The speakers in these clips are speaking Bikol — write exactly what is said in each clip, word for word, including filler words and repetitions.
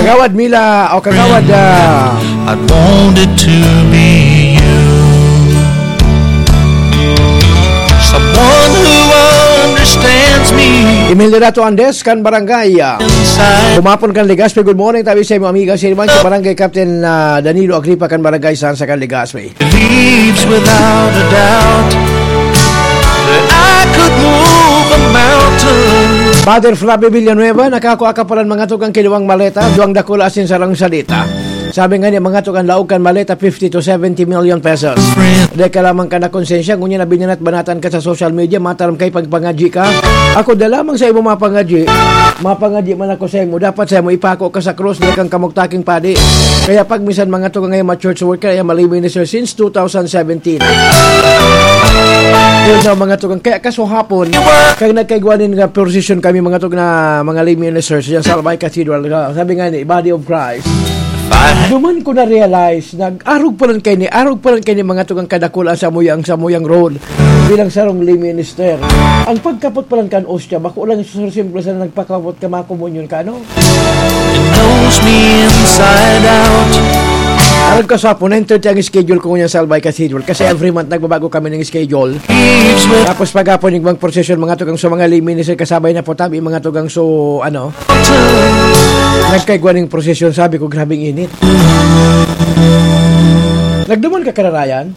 Kagawad Mila o Kagawad, ah, I wanted to be you. Someone who understands me. Emilio Dato Andes kan Barangay, ah, inside. Humapon kan Legazpi. Good morning, tabi sa imo, amiga. Si Iman, si Barangay Captain, ah, Danilo Agripa kan Barangay Sansa kan Legazpi. Believes without a doubt that I could move a mountain. Father Flavio Villanueva, nakakua ka palan mga tugang kiluwang maleta, duwang dakula asin sarang salita. Sabi nga ni mga tugang laog kan maleta, fifty to seventy million pesos. Dahil ka lamang ka na konsensya, ngunyan na binanat-banatan ka sa social media, mataram kay pagpangadyi ka. Ako da lamang sa imo mapangadyi, mapangadyi man ako sa imo, dapat sa imo ipako ka sa krus, di kang kamugtaking padi. Kaya pag minsan mga tugang ngayon, ma-church worker, ay ma-lay minister since two thousand seventeen. Yun daw, mga tugang. Kaya kasuhapon, kaya nagkaigwanin nga position kami, mga tugang, na mga lay ministers, yan sa Albay Cathedral. Sabi nga ni Body of Christ, duman ko na-realize, nag-arog pa lang kayo ni, arog pa lang kayo ni mga tugang kadakul ang samuyang, samuyang role bilang sarong lay minister. Ang pagkapot pa lang kan ostya, bako lang sa simple sa nagpakapot ka, makomunyon ka, ano? It knows me inside out. Arog ka sa hapon, nine thirty ang schedule ko ngunyan sa Albay Cathedral kasi every month nagbabago kami ng schedule. Tapos paghapon yung mga procession, mga tugang so mga lay minister, kasabay na po tabi, mga tugang so, ano, nagkaigwa ng procession, sabi ko, grabing init. Nagduman ka, kararayan?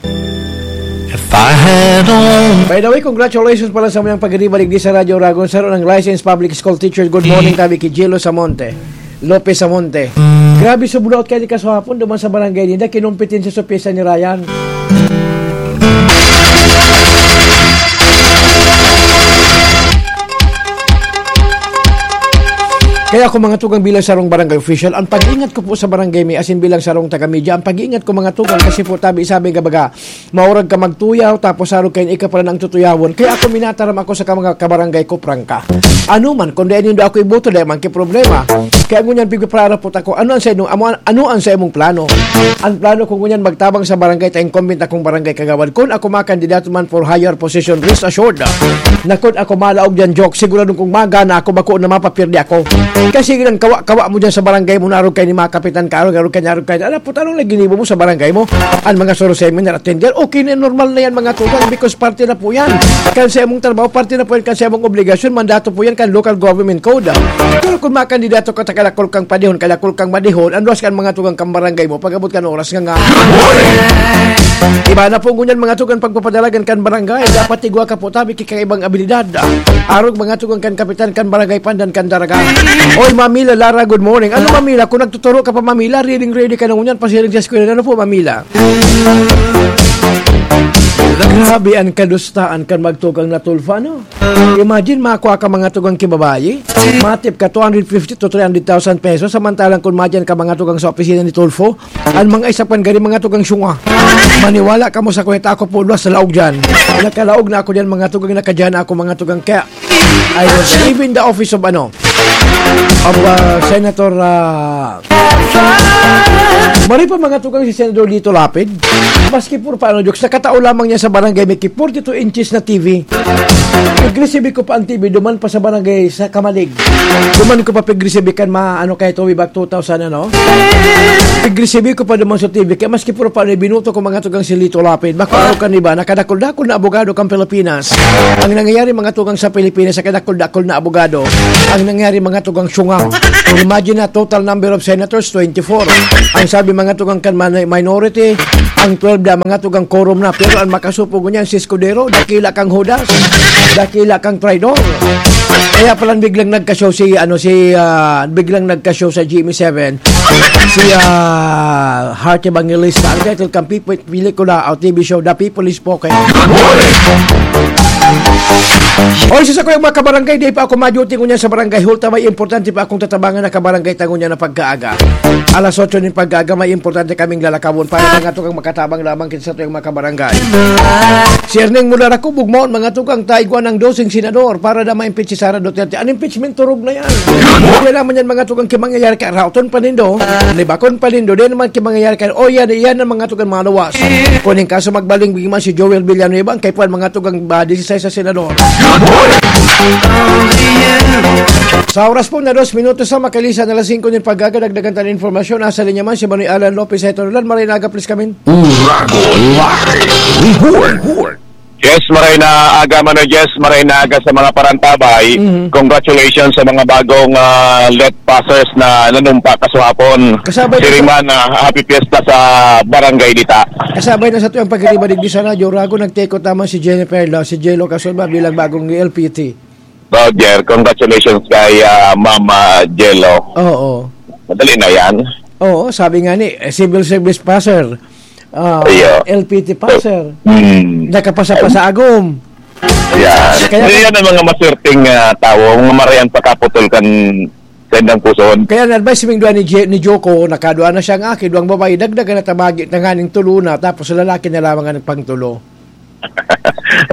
If I had only By the way, congratulations pala sa mga pagdibalik di sa Radyo Ragon, sa ng licensed public school teacher. Good morning, tabi kay Jello Samonte. Lopez Samonte. Grabe, subulaot kayo ni kasuhapon, duman sa barangay ninda, kinumpetensya sa pyesa ni Ryan. Kaya ako, mga tugang, bilang sarong barangay official, ang pag-ingat ko po sa barangay mi, asin bilang sarong taga-media, ang pag-ingat ko, mga tugang, kasi po tabi sabi nga baga, maurag ka magtuyaw, tapos arog kayo ika pala nang tutuyawon. Kaya ako, minataram ako sa mga kabarangay ko, prangka. Ano man, kung dai nindo ako iboto, dai man ki problema. Kaya ngunyan, pigpaparapot ako, ano ang sa inyong, amo-, ano ang sa imong plano? Ang plano ko ngunyan, magtabang sa barangay, ta incumbent akong barangay kagawad. Kung ako makandidato man for higher position, rest assured, ah, na kung ako malaog dyan, joke, siguradong kung magana ako, bako na mapapirdi ako. Kasi nang kawa-kawa mo dyan sa barangay mo, narog kayo ni mga kapitan ka, arog, arog kayo, arog kayo. Ala, puta, anong lagi nibo mo sa barangay mo? Ang mga soro seminar attender, okay na, normal na yan, mga tugang, because parte na po yan. Kan sa imong trabaho, parte na po yan, kan sa imong obligasyon, mandato po yan, kan local government code. Pero kung makandidato ka, ta kadakol kang padihon, kadakol kang madihon, ang luwas kan mga tugang kang barangay mo, pag-abot kan oras nga nga. Iba na po ngunyan, mga tugang, pagpapadalagan kan barangay, dapat igwa ka po, tabi, kikaibang abilidad. Arog, mga tugang, kan kapitan, kan barangay, pandan, kan daraga. Oy, Mamila Lara, good morning. Ano, Mamila, kung nagtuturo ka pa, Mamila, ready, ready ka na ngunyan, pasiring sa eskwela. Ano po, Mamila? Grabe ang kadustaan kan magtugang na Tulfo, ano? Imagine, makuha ka mga tugang kibabayi, matip ka two hundred fifty to three hundred thousand pesos, samantalang kung madyan ka mga tugang sa opisina ni Tulfo, ang mga isa pan gari mga tugang syunga. Maniwala ka mo sa kwenta, ako po, luwas sa laog dyan. Nakalaog na ako dyan, mga tugang, nakadyan ako, mga tugang. Kaya, I was leaving the office of, ano, of, uh, Senator, uh, Mari pa mga tugang si Senador Lito Lapid. Maski puro paano jokes, nakatao lamang niya sa barangay, may ki forty-two inches na T V. Nag-receive ko pa ang T V, duman pa sa barangay sa Kamalig. Duman ko pa pag-receive kan ma-, ano, kay Toby back two thousand, ano? Pag-receive ko pa duman sa T V, kaya maski puro paano, binuto ko mga tugang si Lito Lapid. Bako araw kan iba, nakadakol-dakol na abogado kan Pilipinas. Ang nangyayari mga tugang sa Pilipinas, sa kadakol-dakol na abogado. Ang nangyayari mga tugang syunga. Imagine na total number of senators, twenty-four. Ang sabi mga tugang kan man-, minority, ang twelve na mga tugang quorum na. Pero ang makasupo ngunyan si Escudero, dakila kang Judas, dakila kang traidor. Kaya palang biglang nagka-show si, ano, si, ah, biglang nagka-show sa G M A seven, si, ah, Heart Evangelista. Ang title kan People pelikula o T V show, The People is Spoken. Oy, sa sakuyang mga kabarangay, di pa ako ma-duty ngunyan sa barangay hall, ta may importante pa akong tatabangan na kabarangay ta ngunyan na pagkaaga. Alas otso nin pagkaaga, may importante kaming lalakawon para mga tugang makatabang lamang kita sa tuyang mga kabarangay. Si Erneng Mulara Kubog, maon mga tugang, taigwa ng doseng senador para na ma-impeach si Sara Duterte. An impeachment, turog na yan. Hindi naman yan mga tugang kimangyayari ka, raoton pa nindo, libakon pa nindo, di naman kimangyayari ka, o yan, yan ang mga tugang mga luwas. Kuning kaso magbaling man si Joel Villanueva, ang kaipuhan mga tugang, ah, disisais sa senador. Sa oras po na dos minutos sa makalisan na alas singko nin pag-aga, dagdagan ta nin impormasyon. Nasa linya man si Manoy Alan Lopez. Heto, Roland, maray na aga, please, kamin. Urago Live Report. Yes, maray na aga, Manoy Jess, maray na aga sa mga parantabay. Mhm. Congratulations sa mga bagong, ah, let passers na nanumpa kasuhapon. Kasabay na Siring sa man, ah, happy fiesta sa Barangay Dita. Kasabay na sa tuyang pagkalibalig di sana, Jorago, nagtekot naman si Jennifer Lo, si Jello Casulba bilang bagong L P T. Roger, congratulations kay, ah, Mama Jello. Oo. Madali na yan. Oo, sabi nga ni, eh, civil service passer, ah, Iyo. L P T passer, Hmm. nakapasa pa sa agom. Yan. Kaya Hindi yan ang mga maswerteng, ah, tao, mga marayan pakaputol kan sendang puson. Kaya na-advise ming duwa ni Je-, ni Joko, nakadua na siya nga aki, duwang babae, dagdagan na tabagi, tanganing tulo na, tapos lalaki na lamang ang pangtulo.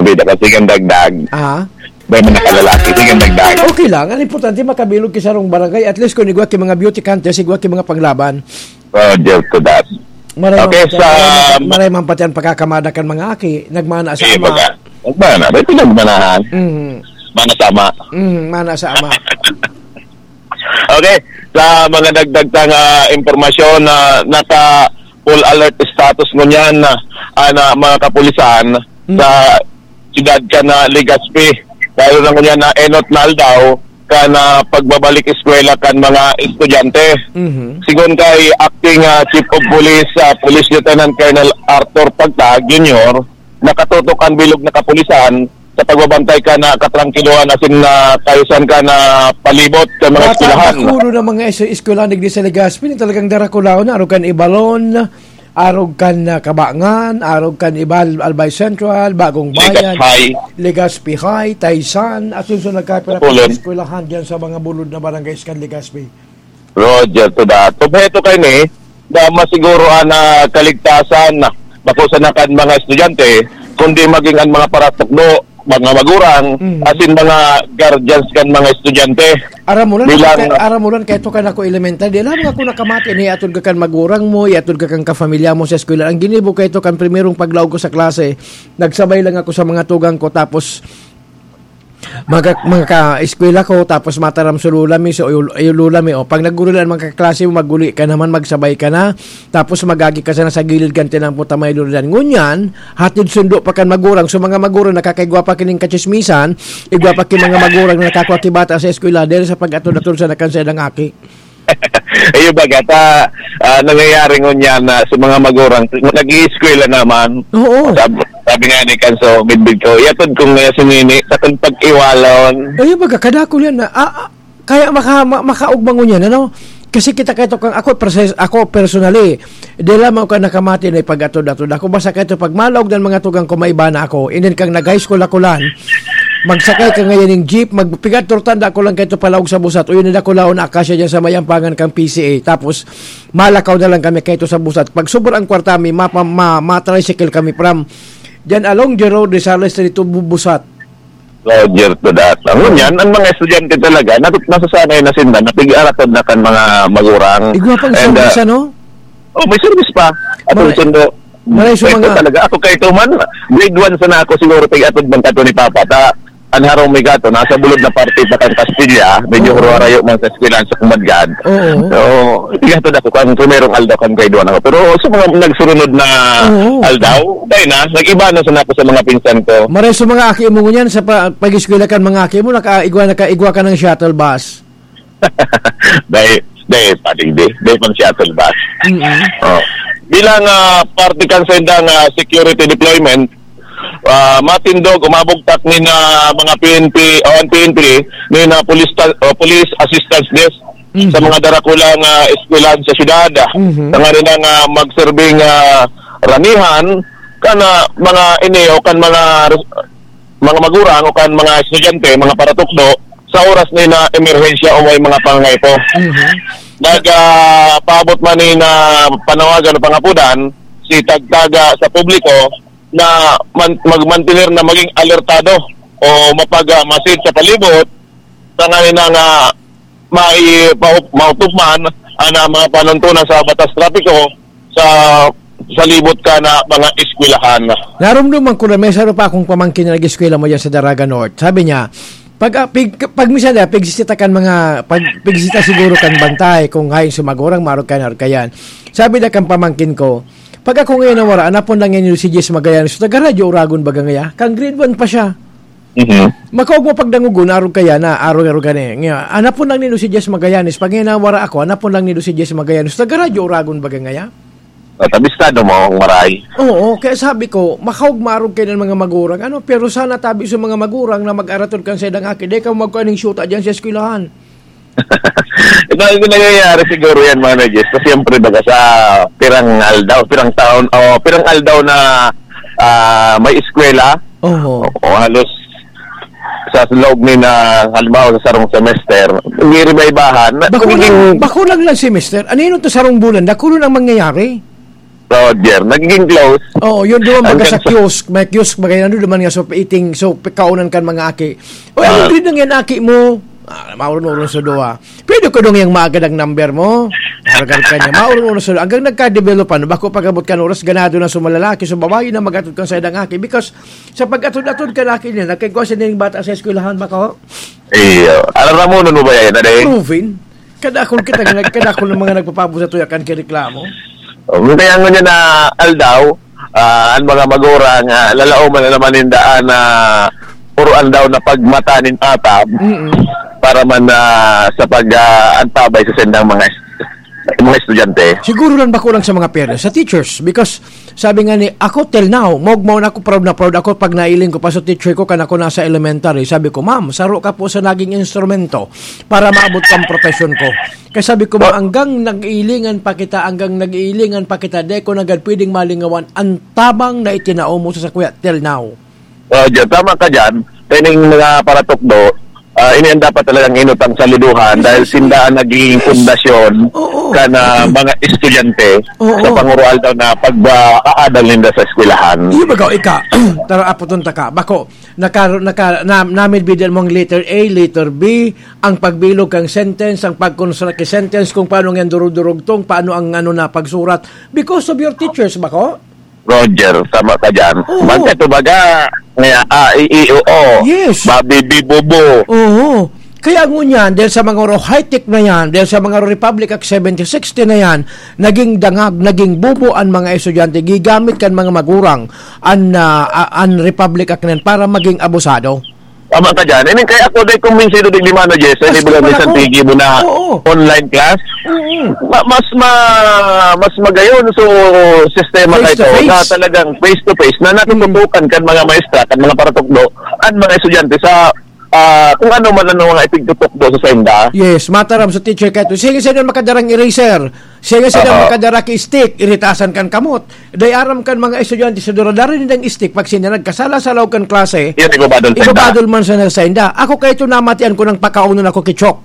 Bida ka, sige, dagdag. Ah? May mga kalalaki, sige, dagdag. Okay lang. Ang importante, makabilog ki sarong barangay. At least, kung igwa ki mga beauty contest, igwa ki mga panglaban. Roger to that. Maray Okay, man pati, sa maray man pati, maray man pati ang pagkakamada kan mga aki. Nagmana sa Eh, ama. baga. Nagmana. May pinagmanahan. Mhm. Mana sa ama. Mhm, mana sa ama. Okay, sa mga dagdag tang, ah, impormasyon na naka full alert status ngunyan na, ah, na mga kapulisan Hmm. sa siyudad kan Legazpi. Lalo na ngunyan na enot na aldaw kan, ah, pagbabalik eskwela kan mga estudyante. Mhm. Sigon kay Acting, ah, Chief of Police, ah, Police Lieutenant Colonel Arthur Pagtag Junior, nakatutok ang bilog na kapulisan sa pagbabantay kan, ah, katrangkilohan asin, ah, kaayusan kan, ah, palibot sa mga Bata, eskwelahan. Dakulo na mga es-, eskwelahan digdi sa Legazpi na talagang darakulaon na, arog kan Ibalon, arog kan, ah, Cabangan, arog kan Ibal-, Albay Central, Bagong Legazpi Bayan, High. Legazpi High, Taysan, at yun sa nagkapira-pira Kapulon. Eskwelahan diyan sa mga bulod na barangay kan Legazpi. Roger to that. Obheto kaini na masiguro an, ah, kaligtasan, bako sana kan mga estudyante, kundi maging an mga paratukdo, mga magurang, Mm. asin mga guardians kan mga estudyante. Aram mo lang, Bilang kay, aram mo lang, kay ito kan ako elementary, di lang ako nakamati na iatod ka kan magurang mo, iatod ka kan kafamilya mo sa eskwela. Ang ginibo kay ito kan primerong paglaog ko sa klase, nagsabay lang ako sa mga tugang ko, tapos mga, mga ka-eskwela ko, tapos mataram sa lula mi, so, ay, ay, lula mi, o, pag naggurulan mga kaklase mo, maguli ka naman, magsabay ka na, tapos magagi ka sana sa gilid kan tinampo ta may lula. Ngunyan, hatid sundo pa kan magurang, so mga magurang nakakaigwa pa kining kachismisan, igwa pa ki mga magurang na nakakua ki bata sa eskwela, dahil sa pag-atod-atod sa nakansa ng aki. Iyo baga ta, ah, nangyayari ngunyan na sa mga magurang, nag-iiskwela naman. Oo. Sab-, sabi nga ni Kanso, midbid ko, "Iatod ko nga si Nini, sa kung pag-iwalon." Iyo baga, kadakul yan na, ah, ah, kaya maka-, ma-, makaugma ngunyan, ano? Kasi kita kayo kang ako, perses-, ako personally, di lamang ka nakamati na ipag-atod-atod ako. Basta kayo pag malaog ng mga tugang ko, maiba na ako. And then kang nag-high school ako lang, magsakay ka ngayon ng jeep, magpigat tortanda ko lang kayo palaog sa busat. O yun, nila ko laon na akasya dyan sa mayampangan kang P C A. Tapos, malakaw na lang kami kayo sa busat. Pag sobrang kwarta mi, mapa-, ma-, ma-tricycle kami from dyan along the road, Rizal Street to Bu-, busat. Roger to that. Ang ngunyan, ang mga estudyante talaga, nat-, nasasanay na sinda, napig-aratod na kan mga magurang. Igwa pang And, service, ah, ano? Oh, may service pa. At Mare-, ang sundo. mare sa Ito mga talaga. Ako kay Tuman, grade one sana ako siguro, pag-atod man kato ni Papa. Ta, ang harong may gato, nasa bulod na parte pa kan Castilla, medyo Oo. hurarayo man sa eskwelahan sa Kumadgad. Oo. So, igatod ako kan primerong aldaw kan grade one ako. Pero sa mga nagsurunod na Oo. aldaw, dahil na, nag-iba na sana ako sa mga pinsan ko. Mare sa mga aki mo ngunyan, sa pa-, pag-eskwela kan mga aki mo, nakaigwa, nakaigwa ka ng shuttle bus. Dahil, dahil, padigdi, dahil pang shuttle bus. Mm-mm. Oh. Bilang, ah, parte kan sendang, ah, security deployment, ah, matindog, umabugtak ni na mga P N P, o ang P N P, ni na police ta-, o police assistance desk Mhm. sa mga darakulang, ah, eskwelahan sa syudad. Mhm. Tanganing, ah, magserbing, ah, ranihan, kan, ah, mga ini o kan mga res-, mga magurang o kan mga estudyante, mga paratukdo, sa oras ni na emerhensya o may mga pangangaipo. Mhm. Nag, ah, paabot man ni na panawagan o pangapudan, si tagtaga sa publiko na man-, magmantener na maging alertado o mapag-, ah, masid sa palibot, tanganing nga mai-, pau-, mautupman ang, ah, mga panuntunan sa batas trapiko sa, sa libot ka na mga eskwelahan. Narumduman ko na may saro pa akong pamangkin na nag-eskwela mo dyan sa Daraga North. Sabi niya, Pag, ah, pig-, pag minsan na, pigsisita kan mga, pag, pigsisita siguro kan bantay, kung hain si magurang, maarog kayan, arog kayan. Sabi na kan pamangkin ko, "Pag ako ngayon nawara, anapon lang yan si Jess Magallanes, taga Radyo Uragon baga ngaya?" Kan grade one pa siya. Mhm. Makaog mo pagdangogon, arog kaya na, arog-arog ka na eh. Ngayon, anapon lang nindo si Jess Magallanes, pag ngayon nawara ako, anapon lang nindo si Jess Magallanes, taga Radyo Uragon baga ngaya? At abisado mo ang maray. Oo, kaya sabi ko, makaog maarog kayo ng mga magurang, ano, pero sana tabi sa mga magurang na mag-aratod kan sa idang aki, dai ka magkuha ning syuta dyan sa eskwelahan. Ito ang nangyayari siguro yan, mga Jess. Kasi siyempre, baga sa pirang aldaw, pirang taon, o pirang aldaw na, ah, may eskwela, Oho. o, o halos sa loob ni na, halimbawa, sa sarong semester, nagre-revive-bahan. Na, Bako nagiging lang, bako lang lang semester. Ano yun ito sarong bulan? Dakulon ang mangyayari. Roger, nagiging close. Oo, yun duman baga Hanggang sa sa kiosk. May kiosk, baga yun, ano duman nga, so, eating, so, kaunan kan mga aki. O, Ah. ano grade nang yan, aki mo? Ah, maurong-urong sa duwa. Pwede ko dong yung maagad ang number mo? Aragal ka niya, maurong-urong sa duwa. Hanggang nagka-develop, ano, bako pag-abot kan oras, ganado na sa malalaki, sa babae na mag-atod kan sa idang aki. Because, sa pag-atod-atod kan aki niya, nagkagwa siya ng bata sa eskwelahan, bako? Iyo. Alam mo, nun mo ba yan, Ade? Proven. Kadakol kita, kadakol ng mga nagpapabot sa tuya kan kireklamo. Oh, kaya nga niya na aldaw, ah, ang mga magurang, ah, lalaoman na naman yung daan na puro aldaw na pagmata nin atab Mm-mm. para man, ah, sa pag, ah, antabay sa sendang mga est-, mga estudyante. Siguro lang bako lang sa mga parents, sa teachers, because sabi nga ni, ako till now, mogmaw na ako, proud na proud ako pag nailing ko pa sa teacher ko kan ako nasa elementary. Sabi ko, "Ma'am, saro ka po sa naging instrumento para maabot kang profesyon ko." Kaya sabi ko, "Ma'am, hanggang nag-iilingan pa kita, hanggang nag-iilingan pa kita, di ko nagad pwedeng malingawan ang tabang na itinao mo sa sakuya till now." Oh, dyan, tama ka dyan. Kaya yung mga paratukdo, ah, ini ang dapat talagang inutang sa liduhan dahil Yes. sila ang nagiging pundasyon Oo. ka na mga estudyante Oo. sa pangurual daw na pag-aadal ninda sa eskwelahan. Iyo ba, ikaw, ika? Tara, aputon ta ka. Bako, naka, naka, na, namidbidan mo ang letter A, letter B, ang pagbilog kang sentence, ang pag-construct kang sentence, kung paano ang durug-durugtong, paano ang ano na pagsurat. Because of your teachers, bako? Roger, tama ka dyan. Oo. Bangka ito baga, nga, A, I, I, O, O. Yes. Babi, bi, bo, bo. Oo. Kaya ngunyan, dahil sa mga ro high-tech na yan, dahil sa mga ro Republic Act seventy sixty na yan, naging dangag, naging bubo ang mga estudyante, gigamit kan mga magurang an, ah, ah, an Republic Act na yan para maging abusado. Tama ka dyan. I mean, kaya ako dahil kumbinsido, di limano, Jess, sa Mas libro ni naman ako. Santiago na Oo. online class. Mm. Ma-, mas ma-, mas magayon so sistema Face na to ito face. na talagang face to face na natututukan Mm. kan mga maestra, kan mga paratukdo, ang mga estudyante sa, ah, kung ano man ang mga ipigtutukdo sa senda. Yes, mataram sa teacher ka ito. Sige, sino makadarang eraser? Sige, sino Aha. makadara ki stick? Iritasan kan kamot. Dai aram kan mga estudyante sa duradari nindang stick, pag sina nagkasala sa laog kan klase, Yan, ibabadol sa inda. ibabadol man sa, sa inda. Ako kaito namatian ko nang pakaunon ako ki Chok.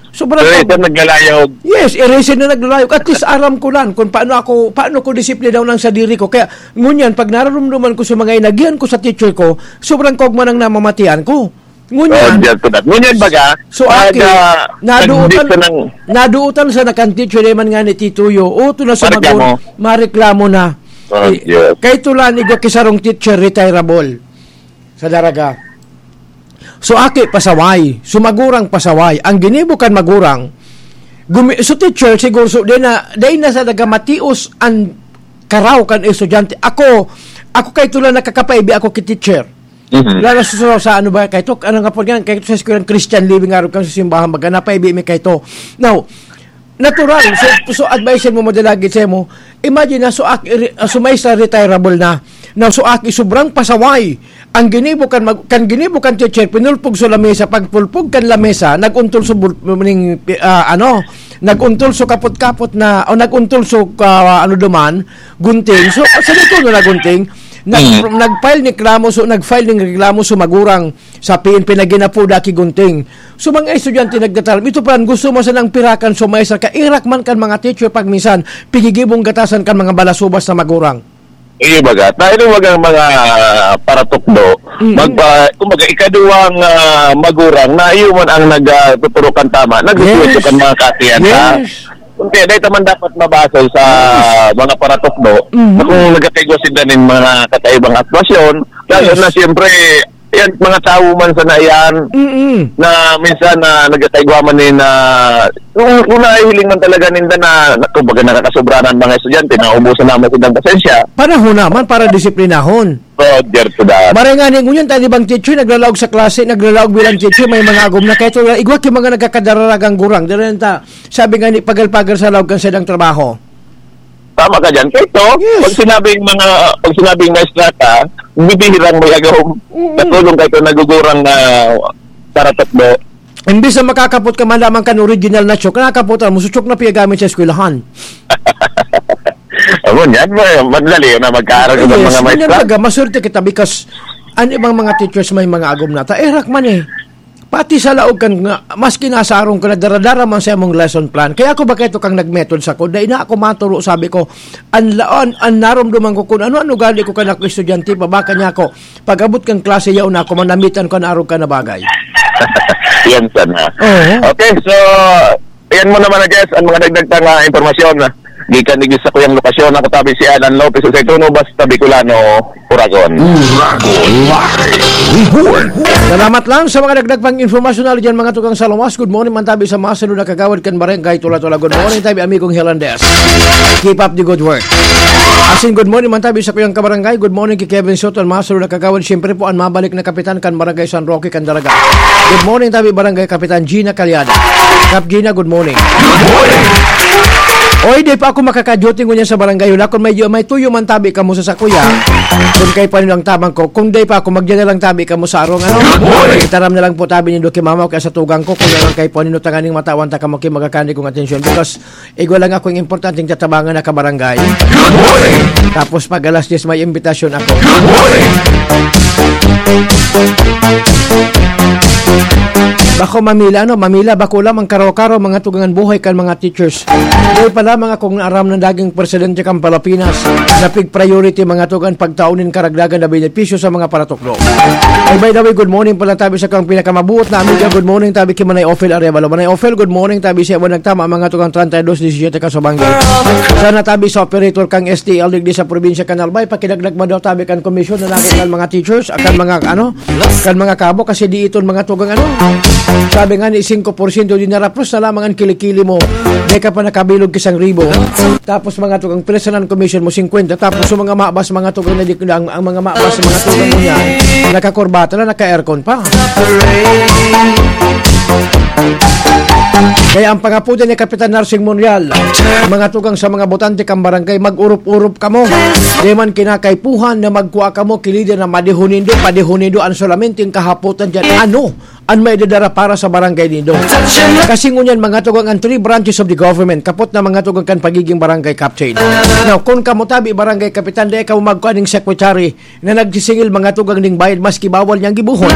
Sobrang Pero pag- ito naglalayog. Yes, eraser na naglalayog. At least aram ko lang kung paano ako, paano ko disiplinaw ng sadiri ko. Kaya ngunyan, pag nararumduman ko sa mga inagihan ko sa teacher ko, sobrang kogma nang namamatian ko. Ngunyan, Oh, diyan ko na. Ngunyan baga, so, pag, aki, ah, naduutan, nagdikta ng naduutan sa nakan teacher, di man nga ni Tituyo, o, ito na sa mareklamo. Magun-, mareklamo na. Oh, Eh, yes. Kay Tulan, igwa ki sarong teacher, retirable. Sa Daraga. So, aki, pasaway. So, magurang pasaway. Ang ginibo kan magurang, gumi-, so, teacher, siguro, so, di na, di na sa nagamatios ang karaw kan estudyante. Ako, ako kay Tulan nakakapaibi ako ki teacher. Mhm. Lalo sa, sa, sa ano ba, kay Tok, ano nga po yan, kay Tok sa eskwelahan Christian Living, araw kan sa simbahan, baga, napaibi mi kay Tok. Now, natural, so, so advice mo, madalagit sa mo, imagine na, so, ak-, re-, ah, so, may sa retirable na. Now, so, aki, sobrang pasaway. Ang ginibo kan mag-, kan ginibo kan teacher, pinulpog sa lamesa, pagpulpog kan lamesa, nag-untol sa bul-, ning, ah, ano, nag-untol sa kapot-kapot na, o nag-untol sa, ah, ano duman, gunting. So, sa dito na gunting, Nag-, Mm. nag-file ni reklamo, so, nag-file ning reklamo so magurang sa P N P na ginapoda ki Gunting. So, mga estudyante nagdataram, ito pa, gusto mo sanang pirakan, so, may sa kairak man kan mga teacher pag minsan, pigigibong gatasan kan mga balasubas na magurang. Iyo baga, tayo ng mga, mga paratukdo, Mm. magpa-, kumbaga, ikaduwang, ah, magurang na iyo man ang nag, ah, tuturo kan tama, nagtuturo Yes. kan mga katiyan, ha? Yes. Kaya dahil naman dapat mabasol sa Yes. mga paratukdo, Mhm. na kung nagkakaigwa sila ng mga kakaibang atbasyon, lalo Yes. na siyempre, Yan, mga tawo man sana yan, Mm-mm. na minsan na nagkakaigwa man ni na, kung, kung nahihiling man talaga ninda na, na, kumbaga, nakakasobrahan ang mga estudyante, naubusan naman silang pasensya. Panahon naman para disiplinahon. Roger to that. Maray nga ni ngunyan, tayo bang teacher, naglalaog sa klase, naglalaog bilang teacher, may mga agom na. Kaya ito, igwa yung mga nagkakadaragang gurang. Dahil ta, sabi nga ni, pagal-pagal sa laog kan sadang trabaho. Tama ka dyan. Kaya ito, Yes. pag sinabing mga, pag sinabing maestra ka, bibihirang may agom. Mm. Katulong ka ito, nagugurang na para tatlo. Imbis na makakapot ka man lamang kan original na chok, nakakapotan mo, so chok na piyagamit sa eskwelahan. Amo niyan, ma-, madali na magkaroon ng Yes, mga ganyan maestra. talaga, maswerte kita because an ibang mga teachers may mga agom na ta. Eh, rak man eh. Pati sa laog kan nga, maski nasa arong ka na, daradara man sa imong lesson plan. Kaya ako ba kaito kang nag-method sa ko? Dai na ako maturo, sabi ko, an laon, an naromdoman ko kung ano, ano gali ko kan ako estudyante, babaka niya ako. Pag-abot kan klase, yaon na ako, manamitan ko na arog ka na bagay. Yan sana. Oo. Okay, so, yan mo naman, I guess, ang mga dagdag na nga impormasyon. Gikan digdi sa kuyang lokasyon, ako tabi si Alan Lopez, Usay Tuno, basta Bicolano, Uragon. Uragon Live Report. Salamat lang sa mga dagdag pang informasyon na dyan, mga tukang sa lawas. Good morning, man tabi sa mga sunod na kagawad kan Barangay Tula-Tula. Good morning, tabi amigong Hilandes. Keep up the good work. Asin, good morning, man tabi sa kuyang kabarangay. Good morning kay Kevin Soto, an mga sunod na kagawad. Siyempre po, an mabalik na kapitan kan Barangay San Roque, kan Dalaga. Good morning, tabi Barangay Kapitan Gina Calyada. Kap Gina, good morning. Oy, di pa ako makaka-duty ngunyan sa barangay. Wala, kung may, may tuyo man tabi kamo sa sakuya. Kung kay paano ang tabang ko, kung di pa ako, magdala lang tabi kamo sa arong, ano? Itaram na lang po tabi ni Doki Mama o kaya sa tugang ko, kung lang kay paano tanganing matawan ta kamo kay magakani kong atensyon. Because igwa lang akong importanteng tatabangan na kabarangay. Tapos pag alas diyes may imbitasyon ako. Bako mamila, no? Mamila, bako lamang karo-karo, mga tugangan buhay kan mga teachers. Dahil pa lamang akong naaram na naging presidente kan Palapinas, na pig priority, mga tugan, pagtaon nin karagdagan na benepisyo sa mga paratukdo. Ay, by the way, good morning pala tabi sa kang pinakamabuot na amiga. Good morning tabi kay Manay Ophel Arevalo. Manay Ophel, good morning tabi sa iba nagtama, mga tugang treinta y dos diecisiete Kasubangge. Sana tabi sa operator kang S T L digdi sa probinsya kan Albay, pakidagdag man daw tabi kan komisyon na lagi kan mga teachers, kan mga, ano, kan mga kabo, kasi di iton mga tugang, ano. Sabi nga ni, singko porsyento di narapos na lamang ang kilikili mo. Di ka pa nakabilog kisang ribo. Tapos mga tugang personal commission mo, singkwenta. Tapos yung mga mabas, mga tugang na di, ang, ang mga mabas, mga tugang mo niya, nakakurbata na, naka-aircon pa. Kaya ang pangapudan ni Kapitan Narsing Monreal, mga tugang sa mga botante kang barangay, mag-urup-urup kamo. Di man kinakaipuhan na magkua kamo, kilida na madihunindo, padihunindo, ang solamente yung kahapotan dyan. Ano? An maidadara para sa barangay nindo. Kasi ngunyan, mga tugang, ang three branches of the government, kapot na, mga tugang, kan pagiging barangay captain. Now, kung kamo tabi barangay kapitan, dai kamo magkuan ning secretary na nagsisingil, mga tugang, ning bayad, maski bawal niyang gibuhon.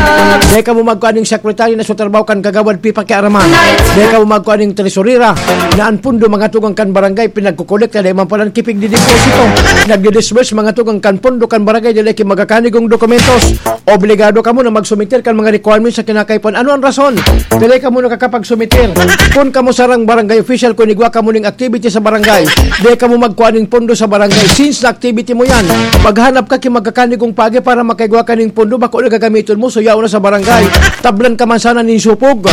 Dai kamo magkuan ning secretary na sa trabaho kan kagawad pipakiaraman. Dai kamo magkuan ning tresurera na an pundo, mga tugang, kan barangay pinagkukolekta, dai man palan kipigdideposito. Nagdidisburse, mga tugang, kan pundo kan barangay, dai ki magkakanigong dokumentos. Obligado kamo na magsumiter kan mga requirements sa kinakaipuhan. Ano ang rason? Dili kamo nakakapagsumeter. Kun kamo sarang barangay official, kun igwa kamo ning activity sa barangay, di kamo magkuha ning pondo sa barangay. Since na activity mo yan, maghanap ka ki magkakanigong pagi para makaigwa ka ning pondo, bako na gagamiton mo, so yaon na sa barangay. Tablan ka man sana nin supog.